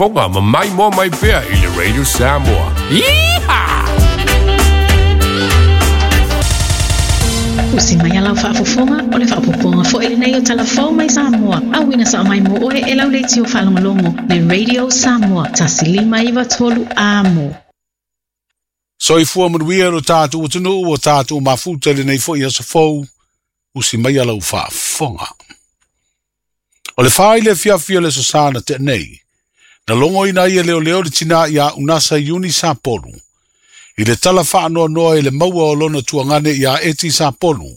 faafofoga ma maimoa mai pea i le Radio Samoa. Yeehaw! Usi mai a lau faafofoga, o le faaopoopoga foi lenei o Tala Fou mai Samoa, auina sao mai mo oe e lau leitio faalogologo le Radio Samoa 1 5 9 3 Amo. Soifua manuia lo tatou atunuu ua tatou mafuta i lenei foi aso fou, usi mai a lau faafofoga. O le 4 i le afiafi o le Aso Sa na tea nei, na logoina ai e leoleo le tinā iā Unasa Iuni Sapolu, i le tala faanoanoa i le maua o lona tuagane iā Eti Sapolu,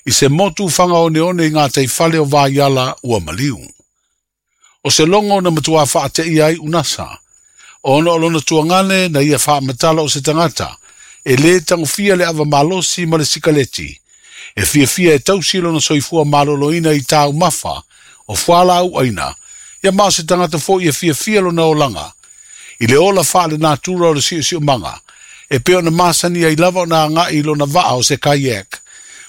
i se motu fagaoneone i gataifale o Vaiala ua maliu. O se logo na matuā faateia ai Unasa, ona o lona tuagane na ia faamatala o se tagata, e lē tagofia le ava malosi ma le sikaleti, e fiafia e tausi lona soifua maloloina i taumafa o fualaau aina, ia ma o se tagata foi e fiafia lona olaga, i le ola faalenatura o le siosiomaga, e pei ona masani ai lava ona agai i lona vaa o se kayak,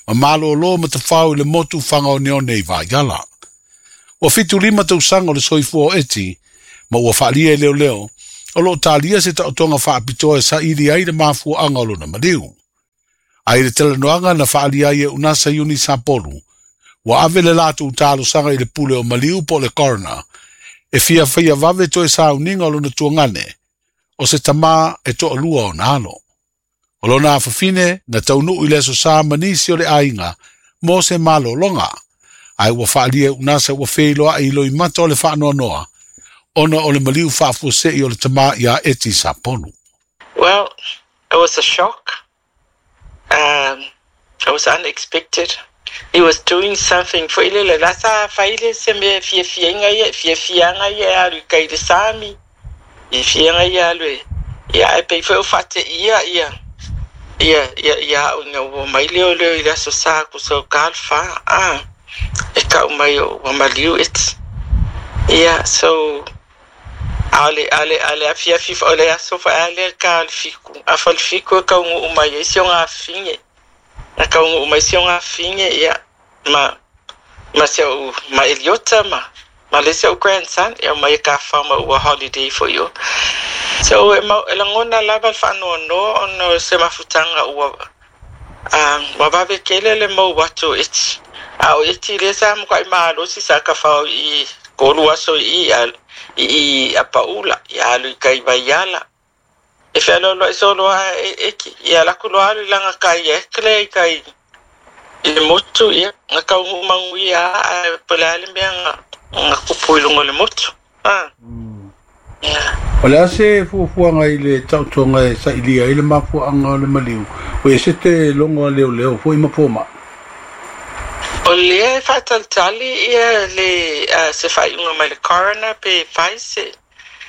ma malōlō ma tafao i le motu fagaoneone i Vaiala. Ua 75 tausaga o le soifua o Eti, ma ua faalia e leoleo, o loo talia se taotoga faapitoa e saili ai le mafuaaga o lona maliu. Ae i le talanoaga na faalia ai e Unasa Iuni Sapolu, ua ave le latou talosaga i le pule o maliu po o le coroner, e fia faia vave toe sauniga o lona tuagane, o se tamā e toalua ona alo. O lona afafine na taunuu i le Aso Sa ma nisi o le aiga mo se malologa, ae ua faalia e Unasa ua feiloai i loimata o le faanoanoa, ona o le maliu faafuasei o le tamā iā Eti Sapolu. Well, it was a shock. It was unexpected. He was doing something foi lele la sa fai le se mea fiafiaga ia fiafiaga ia e alu i kai le sami i fiaga ia alu e ia ae pei foi o faateia ia ia ia ia au ina ua mai leoleo i le Aso Sa kusa o ka le 4 a e kau mai o ua maliu eti ia so a o le a le a le afiafi o le aso foi a lea ka le 7 afa le 7 e kauguu mai ai si oga afine na kauguu mai si oga afine ia ma ma si au ma Eliota ma ma le isi o'u grandson ia mai e kafau ma ua holiday foi o. So e mau e lagona lava le faanoanoa ona o se mafutaga ua ua vave tele le mau atu o eti. A o eti lea sa matuai malosi sa kafao i 3 aso i i i Apaula ia alu i kai Vaiala. E fealoaloai solo a e eki ia laku loa alu i laga kai e kle i kai i le motu ia na kauguu maguia a po o le a le mea na na kupu i luga o le motu. Ah. Yeah. O le a se fuafuaga i le taotoga e sailia ai le mafuaaga o le maliu, ua ese te logo a leoleo foi ma fomai? O lea e faatalitali ia le se faaiuga mai le coroner pe fai se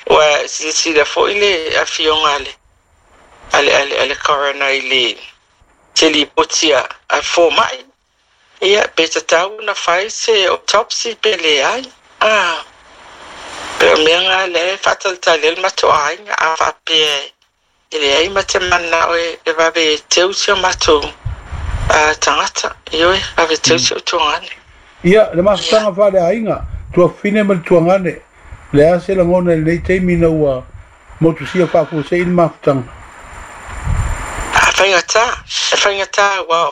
ua silasila foi le afioga a le a le a le a le coroner i le se lipoti a a fomai ia pe tatau ona fai se autopsy pe leai a pe o mea na lea e faatalitali ai le matou aiga a faapea e leai ma te manao e vave teu si o matou tagata ioe vave teu si o tuagane. Ia, le mafutaga faaleaiga, tuafafine ma le tuagane, o le a se lagona i lenei taimi ina ua motusia faafuasei le mafutaga? A faigata, e faigata aua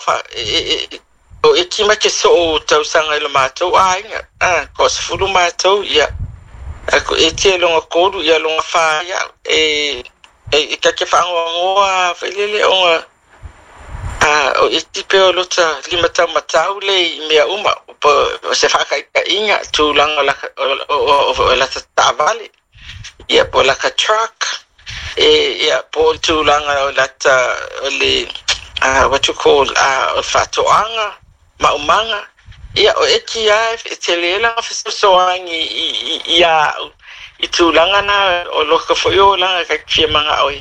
o eki mai ke soo tausaga i lo matou aiga, a 20 matou ia eti e loga 3 ia loga 4 ia e e ka ke faagoagoa foi lele ona o eti pe o lota lima taumatau le i mea uma po o se faakaitaiga tulaga o lata taavale ia po o laka truck e ia po o le tulaga o lata o le what you call o le faatoaga maumaga ia o eki lava e tele lana fesoasoani ia au i tulaga na o loka foi o olaga ka fia manao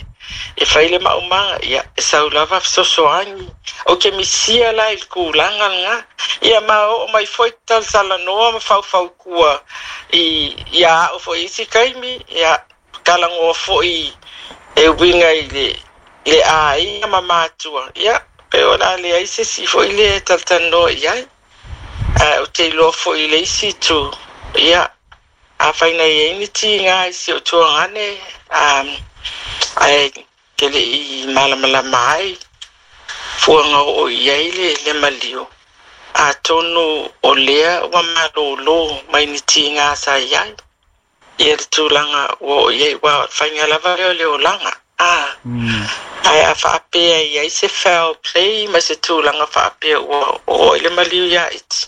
e fai le maumaga ia e sau lava fesoasoani ou te misia la i le tulaga lena ia ma oo mai foi talatalanoa ma faufautua i ia au foi i isi taimi ia talanoa foi e uiga i le aiga ma matua ia pe o le a leai se isi foi le talatalanoa i ai ae ou te iloa foi i le isi itu ia Afai na i ai ni tiga i si ou tuagane, ae ke leʻi malamalama ai fuaga oo i ai le maliu, atonu o lea ua malōlō mai ni tiga sa i ai ia le tulaga ua oo i ai, ua faiga lava lea o le olaga a. Ae a faapea i ai se foul play ma se tulaga faapea ua oo i le maliu iā iti,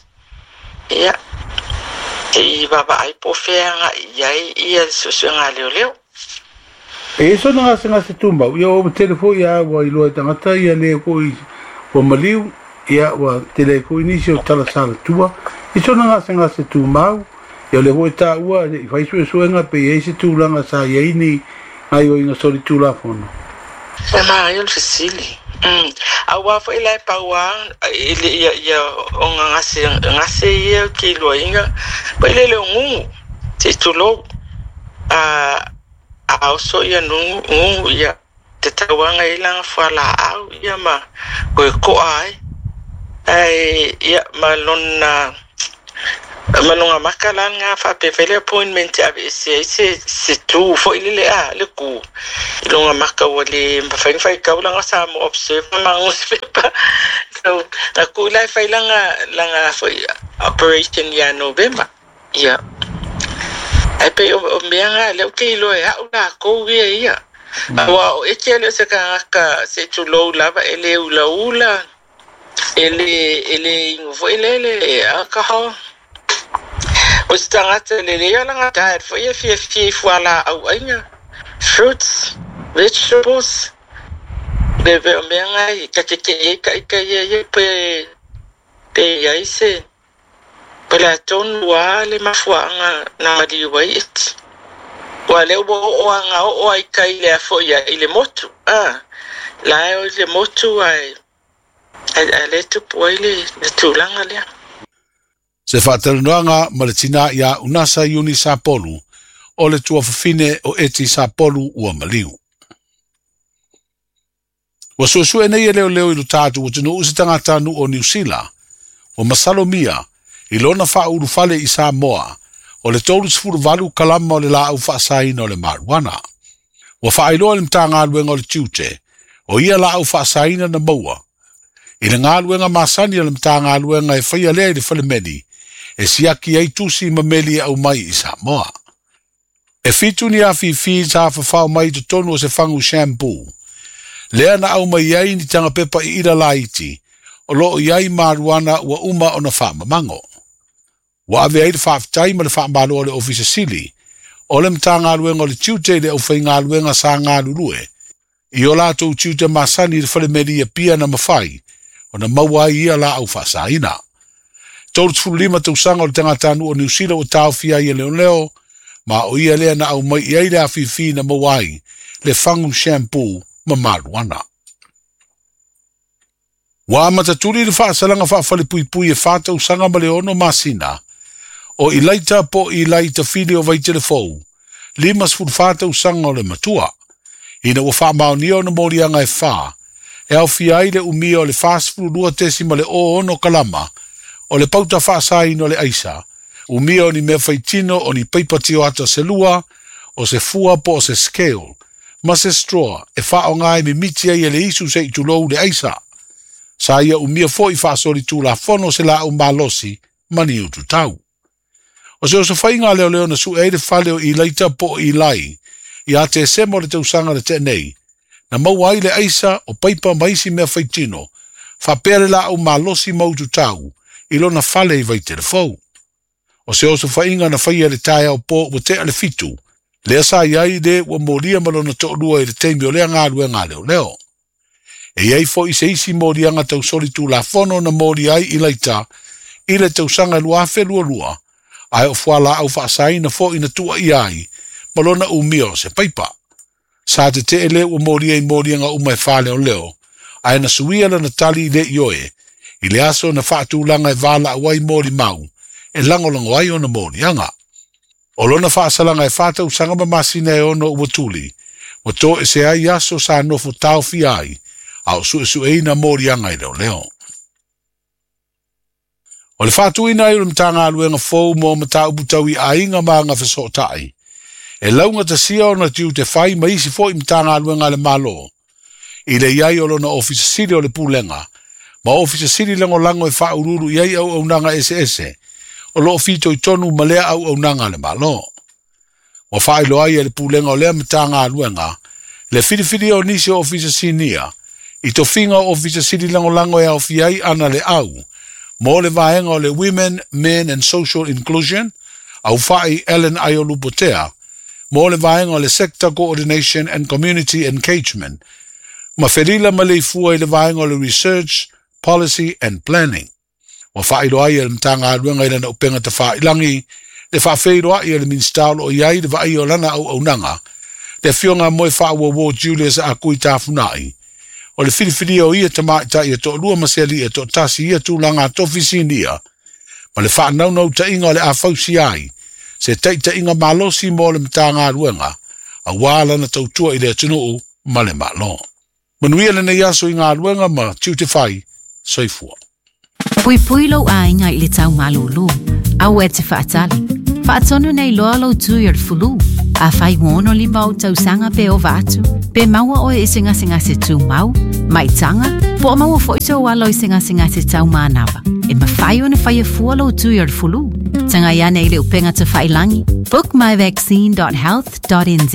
ia, se i vaavaai po o fea agai i ai ia le suesuega a leoleo. E i ai sona gasegase tumau, ia ua tele foi a ua iloa e tagata ia le foi ua maliu, ia ua tele ai foi nisi o tala salatua. I sona gasegase tumau, ia o lea foi e taua i fai suesuega pe i ai se tulaga sa i ai ni gaoioiga solitulafono. E manaia le fesili. Aua foi la e pau a i le ia ia o gase gase ia ou te iloaina foi lele o gugu se i tulou a a oso ia nugu gugu ia te tauaga i lana fualaau ia ma koe koa ai ae ia ma lona ma lona maka la lena faapea fai le appointment e aveese ai se se tu foi lele a le ku i lona maka ua le mafai ona faitau lana Samoa Observer ma nusipepa. So na ku la e fai lana lana foi operation ia Novema ia. Ae pei o mea na lea ou te iloa e au lakou ia ia. Aua o Eti e le o se tagata se i tulou lava e le ulaula, e le e le inu foi lele alcohol. O se tagata lelei o lana diet foi e fiafia i fualaau aina, fruits, vegetables, be be o mea na i ta tetee ai ta ita ia ia pe pe i ai se Po o le a tonu a le mafuaaga na maliu ai Eti. Ua lea ua oo a na oo ai kai le a foi i le motu, a la e o i le motu ae ae lea e tupu ai le tulaga lea. Se faatalanoaga ma le tinā iā Unasa Iuni Sapolu o le tuafafine o Eti Sapolu ua maliu. Ua suesue nei e leoleo i lo tatou atunuu se tagatanuu o Niu Sila ua masalomia i lona faaulufale i Samoa o le 38 kalama o le laau faasaina o le marijuana. Ua faailoa e le Matagaluega o le Tiute o ia laau faasaina na maua i le galuega masani a le Matagaluega e faia lea i le falemeli e siaki ai tusi ma meli e aumai i Samoa. E 7 ni afifi sa fafao mai i totonu o se fagu shampoo, lea na aumai ai ni tagapepa iila laiti o lo o i ai marijuana ua uma ona faamamago. Ua ave ai le faafetai ma le faamalo a le Ofisa Sili o le Matagaluega o le Tiute i le aufaigaluega sa galulue i o latou tiute masani i le falemeli i Apia na mafai ona maua ai ia laau faasaina. 35 tausaga o le tagatanuu o Niu Sila ua taofia ai e leoleo, ma o ia lea na aumai i ai le afifi na maua ai le fagu shampoo ma marijuana. Ua amata tuli le faasalaga faafalepuipui e 4 tausaga ma le 6 masina o Ilaita po o Ilai Tafili o Vaitelefou, 54 tausaga o le matua, ina ua faamaonia ona moliaga e 4 e aofia ai le umia o le 42.06 kalama o le pauta faasaina o le aisa, umia o ni mea faitino o ni paipa tioata se lua, o se fua po o se scale, ma se straw e faaaoga e mimiti ai e le isu se i tulou le aisa. Sa ia umia foi faasolitulafono se laau malosi ma ni ututau. O se osofaiga a leoleo na sue ai le fale o Ilaita po o Ilai ia Tesema o le tausaga na tea nei, na maua ai le aisa o paipa ma isi mea faitino, faapea le laau malosi ma ututau i lona fale i Vaitelefou. O se osofaiga na faia i le taeao po ua tea le 7, lea sa i ai le ua molia ma lona toalua i le taimi o lea galuega a leoleo. E i ai foi se isi moliaga tausolitulafono na molia ai Ilaita i le tausaga 2022, ae o fualaau faasaina foi na tuuaia ai ma lona umia o se paipa. Sa tetee le ua molia i moliaga uma e faaleoleo, ae na suia lana tali i le ioe, i le aso na faatulaga e valaau ai molimau, e lagolago ai ona moliaga. O lona faasalaga e 4 tausaga ma masina e 6 ua tuli, ua toese ai aso sa nofo taofia ai, a o suesueina moliaga i leoleo. O le faatuina ai o le Matagaluega fou mo mataupu tau i aiga ma agafesootai, e laugatasia ona tiute fai ma isi fo'i Matagaluega a le Malo, i le i ai o lona Ofisa Sili o le Pulega, ma Ofisa Sili Lagolago e faauluulu i ai auaunaga eseese, o loo fitoitonu ma lea auaunaga a le Malo. Ua faailoa ai e le Pulega o lea Matagaluega le filifilia o nisi o Ofisa Sinia i tofiga o Ofisa Sili Lagolago e aofia ai Ana Leau mo le vaega o le Women, Men and Social Inclusion, Aufai Ellen Aiolupotea mo le vaega o le Sector Coordination and Community Engagement, ma Felila Maleifua i le vaega o le Research, Policy and Planning. Ua faailoa ai e le Matagaluega i lana upega tafailagi le faafeiloai a le Minisita o loo i ai le vaaia o lana auaunaga, le afioga a Moefaauouo Julius Akui Tafunai, o le filifilia o ia tamaitai e toalua ma se alii e toatasi i ia tulaga tofi sinia, ma le faanaunautaiga o le a fausia ai se taitaiga malosi mo le Matagaluega, auā lana tautua i le atunuu ma le Malo. Manuia lenei aso i galuega ma tiute fai. Soifua. Puipui lou aiga i le tau malūlū. Aua e te faatali. Faatonu nei loa lou tui o le fulu. Afai ua 65 ou tausaga pe ova atu, pe maua oe i se gasegase tumau, maitaga, po o maua foi sou alo i se gasegase tau manava, e mafai ona faia fua lou tui o le fulu. Tagai ane i le upega tafailagi bookmyvaccine.health.nz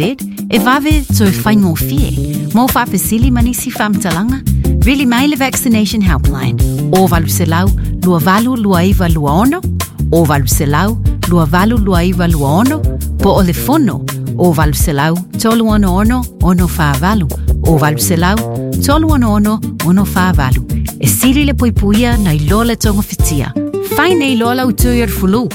e vave toe faigofie. Mo faafesili ma nisi faamatalaga, vili mai le Vaccination Helpline o 800 282926 o 800 282926 po o le fono o 800 366 648 o 800 366 648. E sili le puipuia nai lo le togafitia. Fai nei loa lau tui o le fulu.